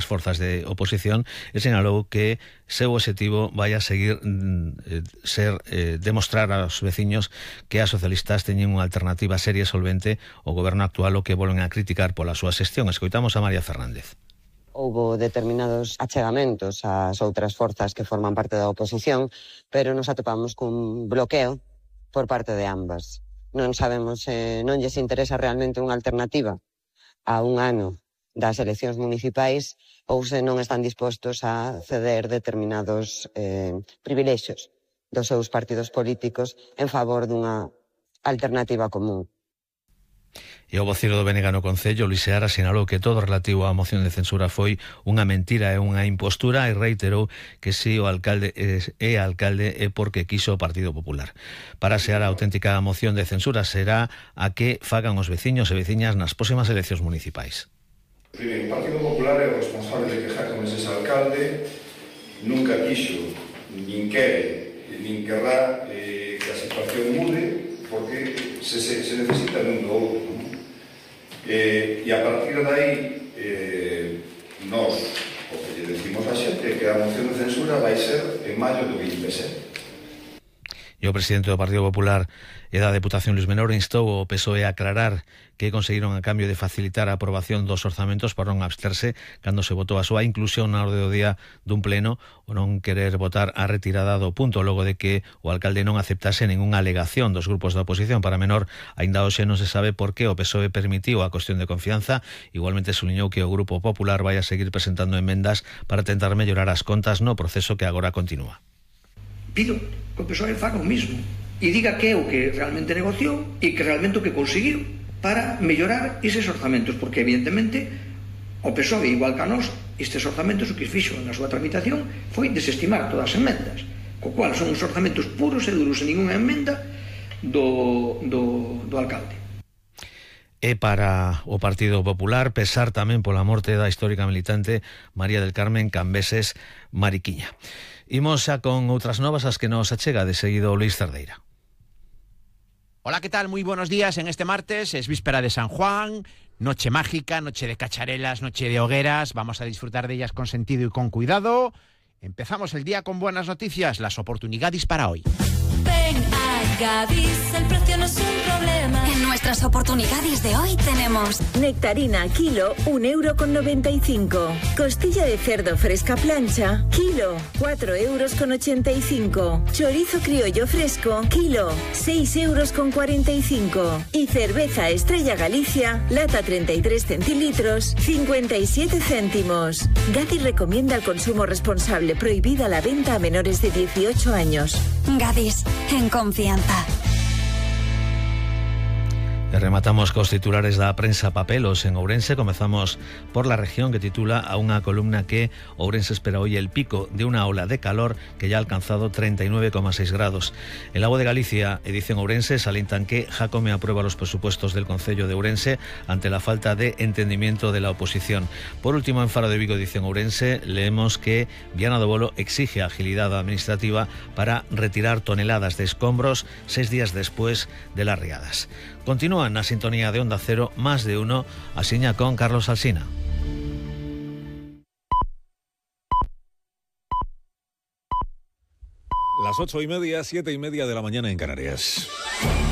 forzas de oposición e sinalou que seu objetivo vai a seguir demostrar aos veciños que as socialistas teñen unha alternativa seria e solvente ao goberno actual, o que volven a criticar pola súa xestión. Escoitamos a María Fernández. Houbo determinados achegamentos ás outras forzas que forman parte da oposición, pero nos atopamos cun bloqueo por parte de ambas. Non sabemos se non lles interesa realmente unha alternativa a un ano das eleccións municipais ou se non están dispostos a ceder determinados privilexios dos seus partidos políticos en favor dunha alternativa común. E o voceiro do BNG no Concello, Luís Seara, sinalou que todo relativo á moción de censura foi unha mentira e unha impostura e reiterou que si o alcalde é porque quiso o Partido Popular. Para Seara, a auténtica moción de censura será a que fagan os veciños e veciñas nas próximas eleccións municipais. Primeiro, o Partido Popular é o responsable de que Jaco Meses alcalde nunca quixo, nin quere, nin querrá que a situación mude, porque se necesita dun do outro. E a partir de aí, nós, o que lle decimos a xente, que a moción de censura vai ser en maio do 27. E o presidente do Partido Popular e da Deputación, Luís Menor, instou o PSOE a aclarar que conseguiron a cambio de facilitar a aprobación dos orzamentos para non absterse cando se votou a súa inclusión na orde do día dun pleno o non querer votar a retirada do punto logo de que o alcalde non aceptase ningunha alegación dos grupos da oposición. Para Menor, aínda hoxe non se sabe por que o PSOE permitiu a cuestión de confianza. Igualmente suliñou que o Grupo Popular vai a seguir presentando emendas para tentar mellorar as contas no proceso que agora continúa. Pido que o PSOE faga o mismo e diga que é o que realmente negociou e que realmente o que conseguiu para mellorar eses orzamentos, porque evidentemente o PSOE, igual que a nós, estes orzamentos o que fixo na súa tramitación foi desestimar todas as emendas, co cual son os orzamentos puros e duros e ninguna emenda do alcalde. E para o Partido Popular, pesar tamén pola morte da histórica militante María del Carmen Cambeses Mariquiña. Imos xa con outras novas as que nos achega de seguido Luis Cerdeira. Hola, ¿qué tal? Muy buenos días. En este martes es víspera de San Juan, noche mágica, noche de cacharelas, noche de hogueras. Vamos a disfrutar de ellas con sentido y con cuidado. Empezamos el día con buenas noticias, las oportunidades para hoy. Ven a Gadis, el precio no es un problema. En nuestras oportunidades de hoy tenemos nectarina kilo, 1,95 €. Costilla de cerdo fresca plancha, kilo, 4,85 €. Chorizo criollo fresco, kilo, 6,45 €. Y cerveza Estrella Galicia, lata 33 centilitros, 57 céntimos. Gadis recomienda el consumo responsable, prohibida la venta a menores de 18 años. Gadis, en confianza. E rematamos cos titulares da prensa papelos en Ourense. Comezamos por La Región, que titula a unha columna que Ourense espera hoy el pico de una ola de calor que ya ha alcanzado 39,6 grados. El Lago de Galicia, edición Ourense, salientan que Jácome aprueba los presupuestos del Concello de Ourense ante la falta de entendimiento de la oposición. Por último, en Faro de Vigo, edición Ourense, leemos que Viana do Bolo exige agilidad administrativa para retirar toneladas de escombros 6 días después de las riadas. Continúan na sintonía de Onda Cero, Más de Uno, asiña con Carlos Alsina. Las 8:30, 7:30 de la mañana en Canarias.